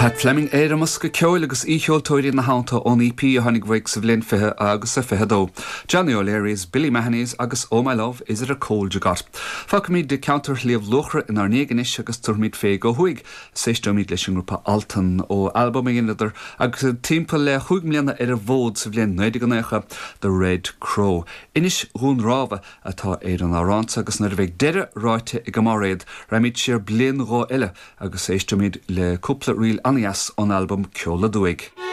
Pat Fleming ar an mbosca ceoil agus aoicheoltóirí ina theannta ón EP a tháinig uaidh sa bhliain 20 agus a 22, Johnny O'Leary's, Billy Mahoney's agus Oh My Love, Is It A Cold You Got. Fágfaimid ceantar Shliabh Luachra inár ndiaidh anois agus tabharfaimid féig ó thuaidh is éisteoimid leis an ngrúpa Altan ó albam a dheineadar agus iad timpeall le chúig mbliana ar an bhfód sa bhliain 1990, The Red Crow. Inis Dhún Rámha atá ar an amhrán so agus nuair a bheidh deireadh ráite ag Máiréad raghaimid siar bliain nó dhó eile agus éisteoimid le cúpla ríl an-dheas ón albam Ceol Aduaidh.